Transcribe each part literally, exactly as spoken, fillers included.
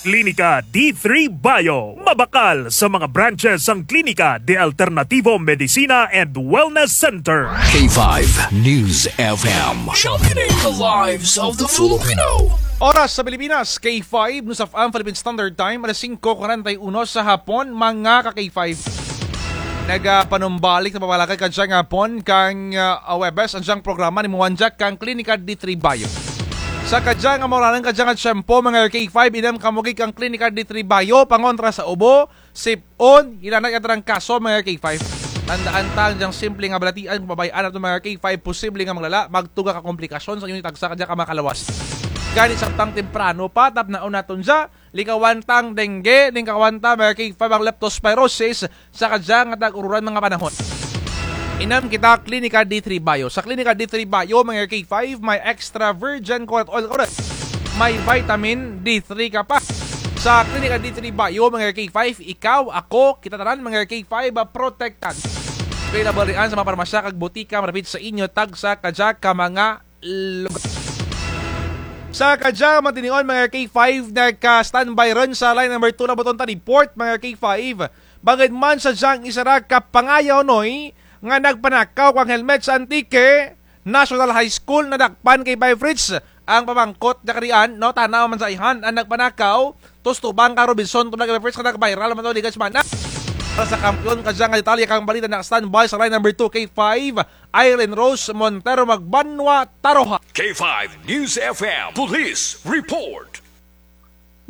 Klinika D three Bio. Mabakal sa mga branches ang Klinika de Alternativo Medicina and Wellness Center. K five News F M. Championing the lives of the Filipino. Oras sa Pilipinas, K five News F M Philippine Standard Time, alas singko kwarenta y uno sa hapon, mga ka K five. Nagapanumbalik sa pamalakat kadyang hapon kang, ah, Huwebes, ang dyang programa ni Muwanjak kang Klinika D three Bio. Sa kadyang amorang kadyang tiyempo, mga K five, inam kamo gid kang Klinika D three Bio, pangontra sa ubo, sip-on, hilanat kang kaso, mga K five. Tandaan ta, ang dyang simple nga balatian, kung pabay-an nato, mga K five, posible nga maglala, magtuga ka komplikasyon sa inyo tagsa kadya ka mga kalawas. Gani samtang temprano pa, tapnaon naton dya, likawan ta ang dengue, likawan ta, mga K five, ang leptospirosis, sa kadya nga tag-ururan mga panahon. Inam kita Klinika D three Bio. Sa Klinika D three Bio, mga K five, may extra virgin coconut oil ka run. May vitamin D three ka pa. Sa Klinika D three Bio, mga K five, ikaw, ako, kita tanan, mga K five, ah, protektad. Available riyan sa mga parmasya kag botika malapit sa inyo, tagsa kadya ka mga lugar. Sa kadya matinion, mga K five, nagka-standby run sa line number two na buton ta report, mga K five. Bangud man sa dyang isara ka pangayaw, Noy, nga nagpanakaw kang helmet sa Antique National High School, nadakpan kay Bay Fritz ang pamangkot dya karian, no, tana man sa ayhan ang nagpanakaw, tus tubang ka Robinson, tubang kay Bay Fritz, nga nag-viral man to, di ka semana. Para sa kampiyon, kadya nga detalye kang balita, naka-standby sa line number two, K five, Irene Rose Montero Magbanwa, Taroha. K five News F M Police Report.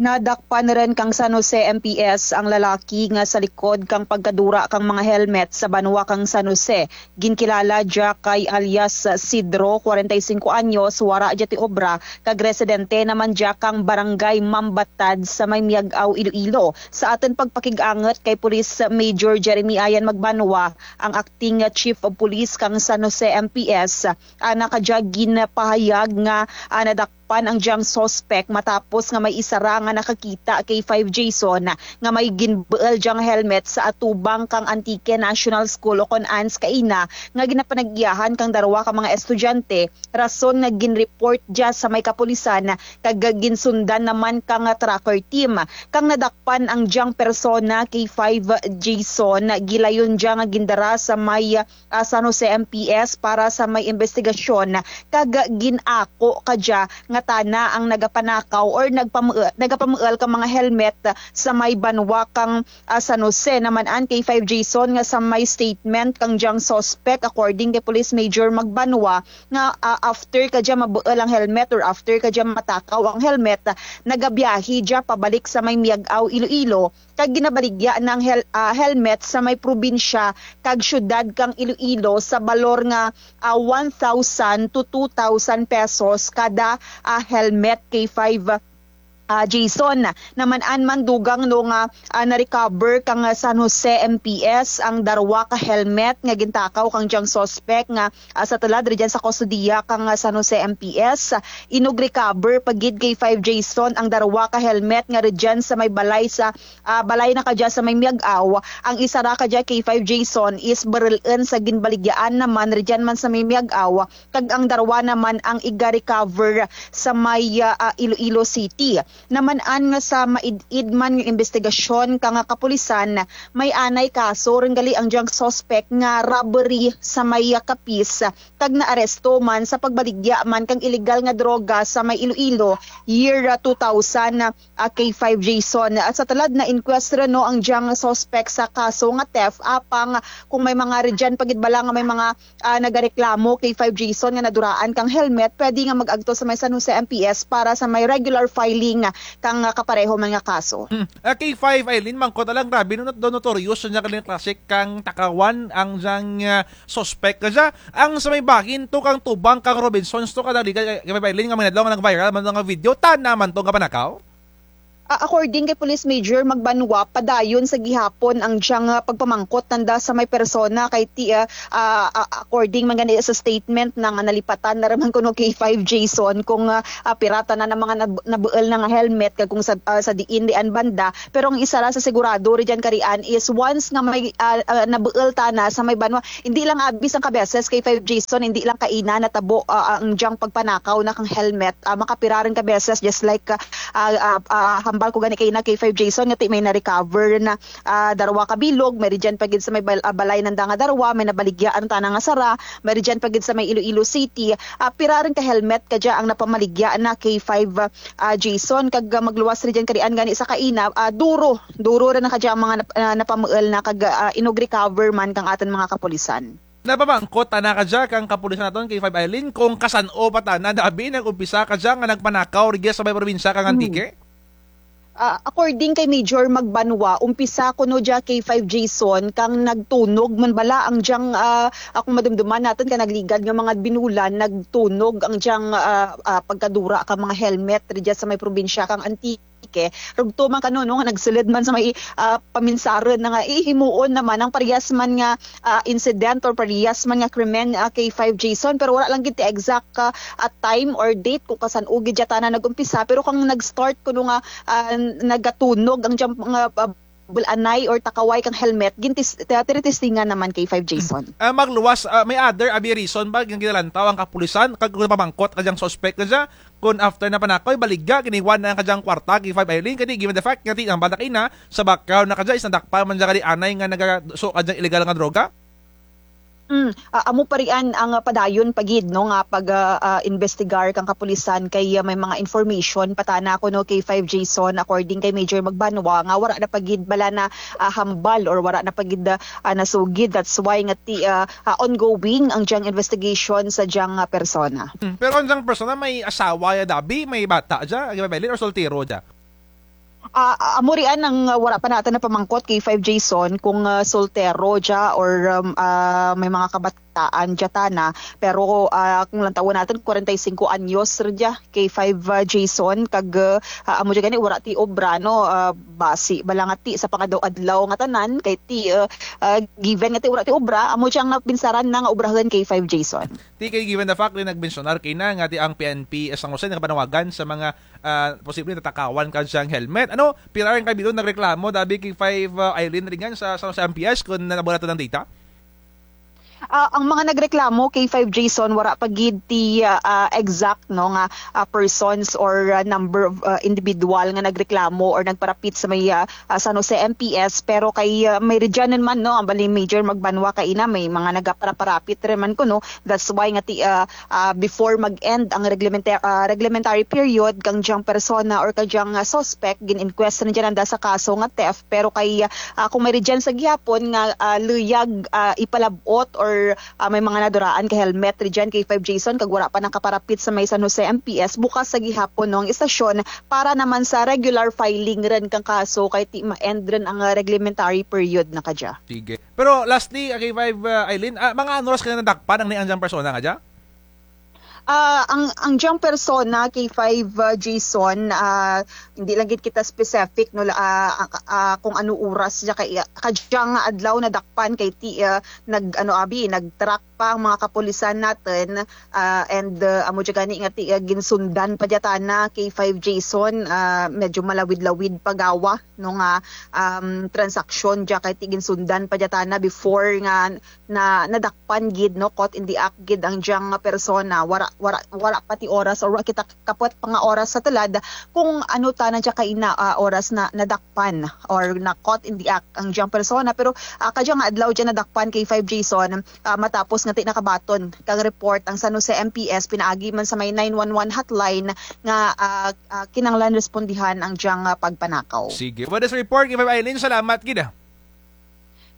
Nadakpan run kang San Jose M P S ang lalaki nga sa likod kang pagkadura kang mga helmet sa banwa kang San Jose. Ginkilala dya kay alias Sidro, kwarenta y singko anyos, wara dya ti obra, kag residente naman dya kang Barangay Mambatad sa may Miag-ao, Iloilo. Sa atun pagpakig-angut kay Police Major Jeremy Ayan Magbanwa, ang acting chief of police kang San Jose M P S, ana kadya ginpahayag nga, ah, nadak- pan ang dyang suspek matapos nga may isara nga nakakita kay Five Jason nga may ginbuul dyang helmet sa atubang kang Antique National School ukon ANS kaina nga ginapanag-iyahan kang darwa ka mga estudyante, rason nga ginreport dya sa may kapulisan kag ginsundan naman kang tracker team. Kang nadakpan ang dyang persona kay Five Jason, gilayon dya nga gindara sa may ah, San Jose M P S para sa may imbestigasyon, kag gin-ako kadya nga tana ang nagapanakaw or nagpamuul, nagapamuul ka mga helmet sa may banwa kang, ah, San Jose. Naman-an kay Five Jason nga sa may statement kang dyang suspek, according kay Police Major Magbanwa, nga, ah, after kadya mabuul ang helmet or after kadya matakaw ang helmet, nagabiyahe dya pabalik sa may Miag-ao, Iloilo, kag ginabaligya na ang hel-, ah, helmet sa may probinsya kag syudad kang Iloilo sa balor nga, ah, one thousand to two thousand pesos kada, ah, helmet kay Five, ah, Jason. Naman-an man dugang no nga, ah, na-recover kang San Jose M P S ang darwa ka helmet nga gintakaw kang dyang suspek nga ah, sa tulad rudyan sa kustodiya kang, ah, San Jose M P S. Inug-recover pa gid kay Five Jason ang darwa ka helmet nga rudyan sa may balay sa, ah, balay na kadya sa may Miag-ao. Ang isara kadya kay Five Jason is barul-un sa ginbaligyaan naman rudyan man sa may Miag-ao, kag ang darwa naman ang iga-recover sa may, ah, ah, Iloilo City. Naman-an nga sa maid-id man nga imbestigasyon kang kapulisan, may anay kaso run gali ang dyang suspek nga robbery sa may, ah, Capiz, kag naaresto man sa pagbaligya man kang iligal nga droga sa may Iloilo, year, ah, two thousand, ah, kay Five Jason. At sa tulad na-inquest run no ang dyang suspek sa kaso nga theft, apang kung may mga rudyan pa gid bala nga may mga ah, nagareklamo kay Five Jason nga naduraan kang helmet, pwede nga mag-agto sa may San Jose M P S para sa may regular filing kang, ah, kapareho man nga kaso. Hmm. Ah, kay Five, Eileen, mangkot lang, grabe, no, not-, notorious na kang klase kang takawan ang dyang, ah, suspek. Kadya, ang sa may bahin to kang tubang kang Robinsons to, kadali kay, kay Five, Eileen, nga may nadlaw nga nag-viral man nga video, tana man to nga panakaw? Ah, according kay Police Major Magbanwa, padayon sa gihapon ang dyang, ah, pagpamangkot nanda sa may persona kay ti, ah, ah, ah, according man gani sa statement nga nalipatan na raman kuno kay Five Jason kung, ah, ah, pira tanan ang mga nab-, nabuul na nga helmet kag kung sa, ah, sa diin dian banda. Pero ang isara sa sigurado rudyan karian is once nga may, ah, ah, nabuul tana sa may banwa, indi lang abi sangka beses kay Five Jason, indi lang kaina natabo, ah, ang dyang pagpanakaw na kang helmet, ah, makapira run ka beses, just like, ah, ah, ah, ah, hambal ko gani kaina K five Jason nga ti may na-recover na, ah, darwa ka bilog, may rugyan pa gid sa may bal-, ah, balay nanda nga darwa, may nabaligya ang tana nga sara, may rugyan pa gid sa may Iloilo City. Ah, pira run ka helmet kadya ang napamaligya na K five, ah, Jason, kag, ah, magluwas rugyan karian gani sa kaina, ah, duro, duro run na kadya ang mga nap-, ah, napamuul na kag, ah, inug-recover man kang atun mga kapulisan. Napamangkot tana kadya kang kapulisan natun K five Eileen kung kasan-o pa tana dabi nag-umpisa kadya nga nagpanakaw rugya sa may probinsya kang Antique? Ah, according kay Major Magbanwa, umpisa kuno dya K five Jason kang nagtunog man bala ang dyang, ah, akong madumduman natun kang nagligad nga mga binulan, nagtunog ang dyang, ah, ah, pagkadura kang mga helmet rugya sa may probinsya kang Antique. Rugto man kano, no, nga nagsulud man sa may, ah, paminsarun na nga, eh, himuon naman ang parehas man nga, ah, incident or parehas man nga krimen, ah, K five Jason, pero wara lang gid ti exact ka, ah, time or date kung kasan-o gid dya tana nag-umpisa, pero kang nag-start kuno nga, ah, nagatunog ang dyang nga, ah, bul-anay or takaway kang helmet, gintis-, ti-, tiritestingan naman K five Jason. Ah, magluwas, ah, may other abi reason ba nga ginalantaw ang kapulisan kag kung napamangkot kadyang suspect na dya? Kon after na panakaw, ibaligya, giniwan na ang kadyang kwarta, K five Eileen, kani given the fact nga ti-, ang bata kaina, sa background na kadya, is nadakpan man dya kadi anay nga nagaso kadyang illegal nga droga? Mm, ah, amo pa rian ang, ah, padayon pa gid, no, nga pag, ah, ah, investigar kang kapulisan kay, ah, may mga information pa tana kuno K five Jason, according kay Major Magbanwa, nga wara na pa gid bala na, ah, hambal or wara na pa gid, ah, ah, nasugid. That's why nga ti, ah, ah, ongoing ang dyang investigation sa dyang, ah, persona. Hmm, pero ang dyang persona may asawa ya dabi, may bata dya, K five Eileen, or soltero dya? Ah, ah, amo rian ang, ah, wara pa natun napamangkot K five Jason kung, ah, soltero dya or, um, ah, may mga kabataan dya tana. Pero, ah, kung lantawun natun, kwarenta y singko anyos run dya K five, ah, Jason, kag, ah, amo dya gani, wara ti obra, no? Ah, basi bala nga ti sa pangadaw-adlaw nga tanan, kay ti, ah, ah, given nga ti wara ti obra, amo dyang napinsaran na nga obrahun K five Jason. Ti kay given the fact nga nagmensyonar kaina nga ti ang P N P San Jose nakapanawagan sa mga, ah, posible natakawan kadyang helmet. Ano, pira run ka bilog nagreklamo, dabi K five, ah, Eileen, rugyan sa, sa San Jose M P S kon nabuhat natun ang data? Ah, ang mga nagreklamo, K five Jason, wara pa gid ti, ah, ah, exact, no, nga, ah, persons or, ah, number of, ah, individual nga nagreklamo or nagparapit sa may, ah, ah, San Jose M P S, pero kay, ah, may rugyan man, no, ang bali Major Magbanwa kaina, may mga nagaparaparapit run man kuno. That's why nga ti, ah, ah, before mag-end ang reglementa-, ah, reglementary period kang dyang persona or kang dyang, ah, suspect, gin-inquest na dyan anda sa kaso nga theft. Pero kay, ah, kung may rugyan sa gihapon nga, ah, luyag, ah, ipalab-ot or, ah, may mga naduraan ka helmet rugyan K five Jason, kag wara pa nakaparapit sa may San Jose M P S, bukas sa gihapon, no, ang istasyon para naman sa regular filing run kang kaso kay ti ma-end run ang, ah, reglementary period na kadya. Sige. Pero lastly, ah, K five, ah, Eileen, ah, mga ano oras kaya nadakpan ang, ang dyang persona nga dya? Ah, ang, ang dyang persona, K five, ah, Jason, ah, hindi lang gid kita specific, no, la-, ah, ah, ah, kung ano oras dya kay, ah, kadyang adlaw nadakpan kay ti, ah, nag, ano, abi, nag-track pa ang mga kapulisan natun, ah, and, ah, amo dya gani nga ti, ah, ginsundan pa dya tana, K five Jason, ah, medyo malawid-lawid pa gawa, no, nga, um, transaksyon dya kay ti ginsundan pa dya tana before nga na, nadakpan gid, no, caught in the act gid ang dyang nga persona. Wara, wara, wara pa ti oras or wara kita kapot pa nga oras sa tulad kung ano tana dya kaina, ah, oras na nadakpan or na caught in the act ang dyang persona. Pero, ah, kadya nga adlaw dya nadakpan K five Jason, ah, matapos nga ti nakabaton kang report ang San Jose M P S pinaagi man sa may nine one one hotline nga, ah, ah, kinanglan respondihan ang dyang, ah, pagpanakaw. Sige. With this report, K five Eileen, salamat gid, ah.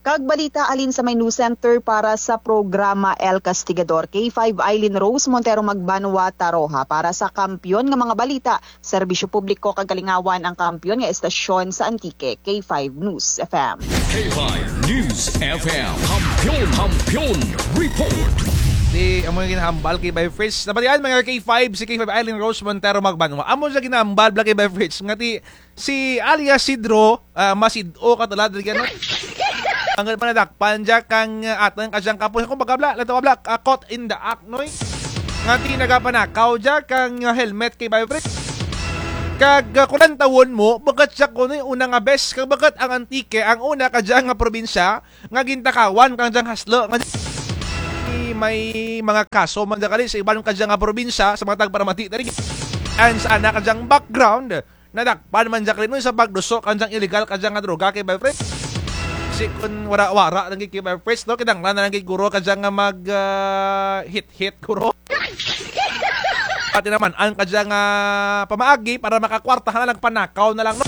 Kag balita halin sa may news center para sa programa El Castigador. K five Eileen Rose Montero Magbanwa Taroja para sa Kampiyon nga mga balita, serbisyo publiko kag kalingawan ang kampiyon nga estasyon sa Antique, K five News F M. K five News F M. Kampiyon, Kampiyon Report. Ti, amo nga ginhambal K five Fritz. Nabatian, mga K five, si K five Eileen Rose Montero Magbanwa. Amo dya ginhambal bala K five Fritz nga ti si alias Sidro, ah, masid-o ka tulad rugyan, no? Ang panadakpan dya kang, ah, atun kadyang kapulisan, kumbaga bala, lantaw bala, ah, caught in the act, no, eh? Nga ti nagapanakaw dya kang, ah, helmet K five Fritz. Kag, ah, kung lantawun mo, bukut dya kuno, eh, una nga bes, kag bukut ang Antique ang una kadya nga probinsya nga gintakawan kang dyang haslo, nga may mga kaso man dya kadi sa iban kadya nga probinsya, sa mga tagparamati, tadi. And sa ana kadyang background, Nadakpan man dya kari no sa pagduso kang dyang illegal kang dyang nga droga, K five Fritz. Si kun wara-wara lang gid, K five Fritz, no, kinanglan na lang gid guro kang dyang nga mag, ah, hit-hit guro. Pati naman ang kang dyang, ah, pamaagi para makakwarta na lang, panakaw na lang, no.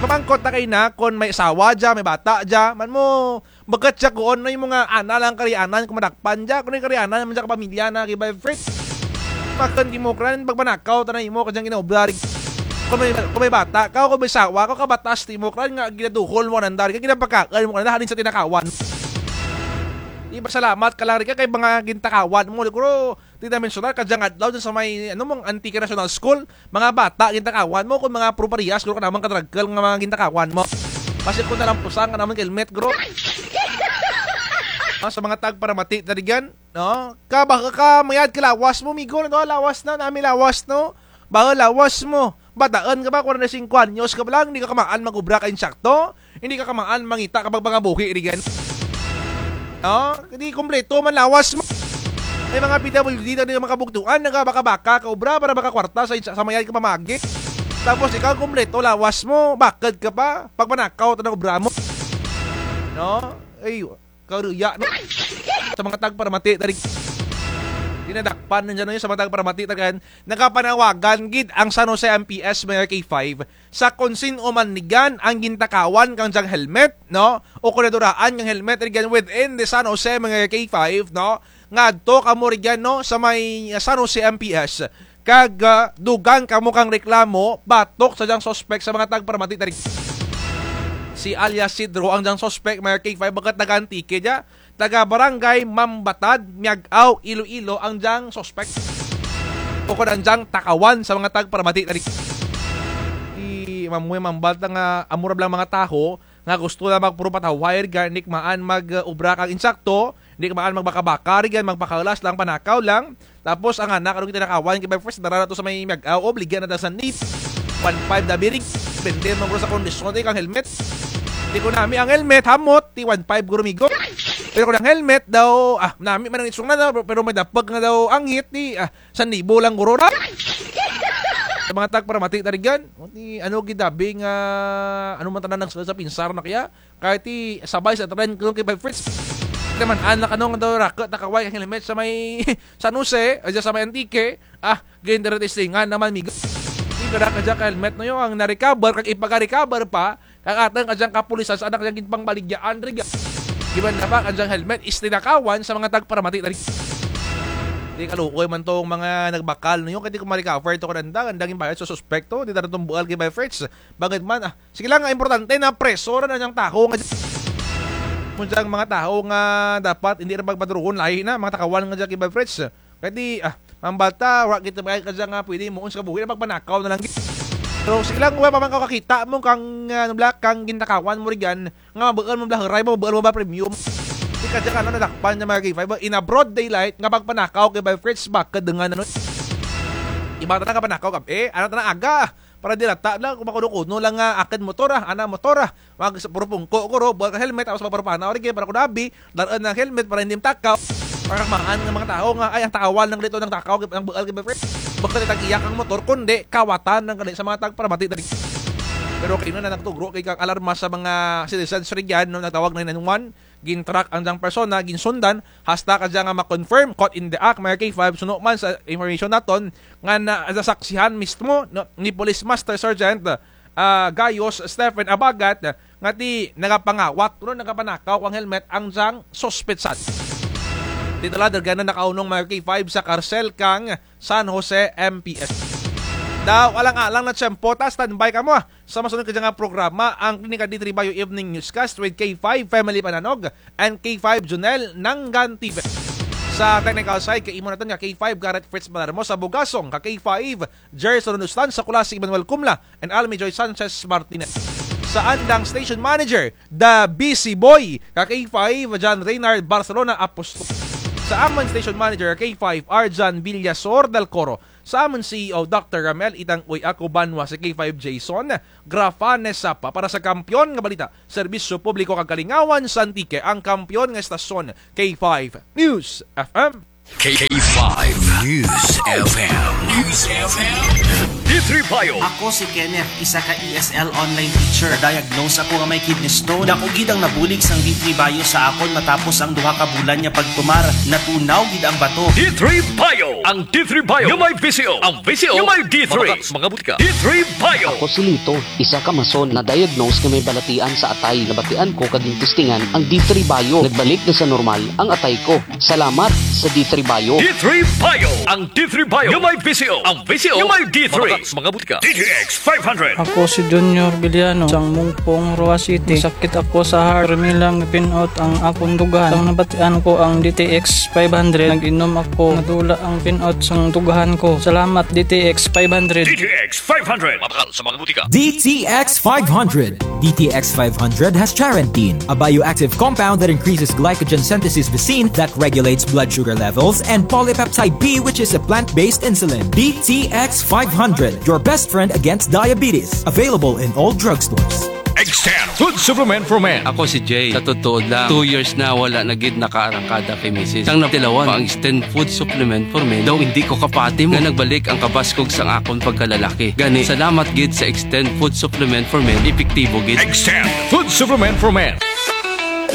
Ipamangkot na kay na kun may asawa dya, may bata dya, man mo, bukut dya kuon, no, imo nga ana lang karianan kun madakpan dya, kun may karianan man dya ka pamilya na, K five Fritz. Bakun ti imo kran pagpanakaw tana imo kang dyang ginaobra ri. Kun may, kun may bata kaw, kun may asawa kaw, kabatas ti imo kran nga ginaduhol mo kananda ri, ginapakaun mo kananda halin sa tinakawan. Ipasalamat ka lang ri kay mga gintakawan mo, guro. Ti na-mensionar kang dyang adlaw dyan sa may, ano, mga Antique National School, mga bata gintakawan mo, kun mga puro parehas guro kanamun ka drug girl nga mga gintakawan mo. Basi kun nalampusan kanamun helmet, guro. Ah, sa mga tagparamati tana dyan, no? Ka, baka ka mayad ka lawas mo, migo, no? Lawas na, nami lawas, no? Bahul lawas mo. Bataun ka pa, kwarenta y singko anyos ka pa lang, indi ka kamaan mag-obra ka insakto, indi ka kamaan mangita ka pagpangabuhi ri dyan. No? Kay ti kumpleto man lawas mo. May mga P W D na di makabugtuan, nagabaka-baka ka obra para makakwarta sa, sa mayad ka pamaagi. Tapos ikaw kumpleto lawas mo, bakud ka pa, pagpanakaw tana obra mo. No? Ay, karuya, no? Sa mga tagparamati tana ri. Dinadakpan na dyan, no, sa mga tagparamati tana ri. Nagapanawagan gid ang San Jose M P S, Mayor K five, sa kun sin-o man ri dyan ang gintakawan kang dyang helmet, no? O kun naduraan kang helmet ri dyan within the San Jose, Mayor K five, no? Ngadto kamo ri dyan, no, sa may, ah, San Jose M P S. Kag, ah, dugang kamo kang reklamo batok sa dyang suspek sa mga tagparamati tana ri. Si alias Sidro ang dyang suspek, Mayor K five, bukut taga Antique dya. Taga Barangay Mambatad, Miag-ao, Iloilo ang dyang suspek. Bukut ang dyang takawan sa mga tagparamati tana ri. Ti, mamuhay mambata nga amo ra bala ang mga taho nga gusto lang magpuro patawhay ri dyan, indi kamaan mag, ah, obra kang insakto, indi kamaan magbaka-baka ri dyan, magpakalas lang, panakaw lang. Tapos ang anak, ano, tinakawan, K five Fritz, dara na to sa may Miag-ao, o, baligya na ta san dya. One five da biri. Depende man guro sa kondisyon ti kang helmet. Ti kun nami ang helmet, hamot, ti one five guro, migo. Pero kun ang helmet daw, ah, nami man ang itsura na daw, pero may dapug nga daw anghit, ti, ah, san libo lang guro ra. Sa mga tagparamati tana ri dyan, ti, ano, gid abi nga, ano man tana nang sa, sa pinsar na kaya, kay ti sabay sa trend kuno, K five Fritz. Ti man, anak, ano nga daw raku takaway kang helmet sa may San Jose, ay, sa may Antique. Ah, gin-testingan naman, migo. Ti, pira kadya ka helmet, no, yo, ang na-recover, kag ipaka-recover pa kang atun kadyang kapulisan sa anak dyang ginpangbaligyaan ri dyan. Giban na pa kadyang helmet is tinakawan sa mga tagparamati tana ri. Ti, kaluoy man tong mga nagbakal, no, yo, kay ti kun ma-recover to kananda, kanda ginbayad sa suspek to, ti tana tong buul, K five Fritz. Bangud man, ah, sige lang, ang importante napreso ra ang dyang taho nga dyan. Mo dyang mga taho nga dapat indi ra pagpaturuhon, lahi na, mga takawan nga dyan, K five Fritz. Kay ti, ah, mambata, wara gid ti kadya nga pwede himuon sa kabuhi, pagpanakaw na lang gid. Pero sige lang, wara pa man kaw kakita mo kang, ah, ano bala, kang gintakawan mo ri dyan, nga mabuul mo bala, huray mo, mabuul mo bala, premium. Ti kadya nga, ano, nadakpan na, Mayor K five, in a broad daylight, nga pagpanakaw, K five Fritz, bakud nga, ano. Iba tana nga panakaw gab-i, ana tana aga. Para di halata lang, kun makuno-kuno lang nga akun motor, ah, ana motor, ah. Mag-, puro pungko guro, buul ka helmet, tapos magpapanaw ri dyan, para kun abi, dar-un ang helmet, para indi matakaw. Para kamaan nga mga taho nga, ay, ang takawan lang dito, ang takaw, ang buul, K five Fritz. Bukut ti tag-iya kang motor, kundi kawatan lang gali sa mga tagparamati tana ri. Pero kaina na nagtugro kay kang alarma sa mga citizens ri dyan, no, nagtawag nine nine one, gin-track ang dyang persona, ginsundan, hasta kadya nga ma-confirm, caught in the act, Mayor K five, suno man sa information natun, nga na, nasaksihan mismo, no, ni Police Master Sergeant, ah, Gayos Stephen Abagat, nga ti nagapangawat, no, nagapanakaw kang helmet ang dyang suspetsan. Ti dala, darga na nakaunong, Mayor K five, sa karsel kang San Jose M P S. Daw, alang-alang na tiyempo ta, standby kamo, ah. Sa masunod kadya nga programa, ang Klinika D three Bio Evening Newscast with K five Family Pananog and K five Junel Nangan T V. Sa technical side, kaimaw natun ka K five Garrett Fritz Malarmo, sa bugasong ka K five Jerson Rustan, sa Kulasi Emmanuel Kumla, and Almi Joy Sanchez Martinez. Sa andang station manager, The Busy Boy, ka K five John Reynard Barcelona Apostol. Sa amun station manager, K five Arjan Villasor del Coro. Sa amun C E O, Doctor Ramel Itang Uy, ako banwa si K five Jason Grafanes Sapa para sa Kampiyon nga Balita, Serbisyo Publiko kag Kalingawan sa Antique, ang kampiyon nga estasyon, K five News F M. K five News F M. News F M. D three Bio. Ako si Kenneth, isa ka E S L online teacher. Na-diagnose ako nga may kidney stone. Dako gid ang nabulig sang D three Bio sa akon matapos ang duha ka bulan nga pagtumar. Natunaw gid ang bato. D three Bio. Ang D three Bio nga may V C O. Ang V C O nga may D three. Mabakal sa mga butika. D three Bio. Ako si Lito, isa ka mason, na-diagnose nga may balatian sa atay. Nabatian ko kag gintistingan ang D three Bio. Nagbalik na sa normal ang atay ko. Salamat sa D three Bio. D three Bio. Ang D three Bio nga may V C O. Ang V C O nga may D three. Mabakal sa mga butika. D T X five hundred. Ako si Junior Villano, sang Mungpong, Roxas City. Sakit ako sa heart. Pirmi lang pin-out ang akon dughan. Sang nabatian ko ang D T X five hundred, nag-inom ako. Nadula ang pin-out sang dughan ko. Salamat, D T X five hundred. D T X five hundred. Mabakal sa mga butika. D T X five hundred. D T X five hundred has charantine, a bioactive compound that increases glycogen synthesis vacin that regulates blood sugar levels, and polypeptide B, which is a plant-based insulin. D T X five hundred, your best friend against diabetes. Available in all drugstores. Extend Food Supplement for Men. Ako si Jay. Sa totoo lang, two years na wala na gid nakaarangkada kay misis. Sang natilawan pa ang Extend Food Supplement for Men, daw indi ko kapati mo nga nagbalik ang kabaskog sang akon pagkalalaki. Gani, salamat gid sa Extend Food Supplement for Men, epektibo gid. Extend Food Supplement for Men.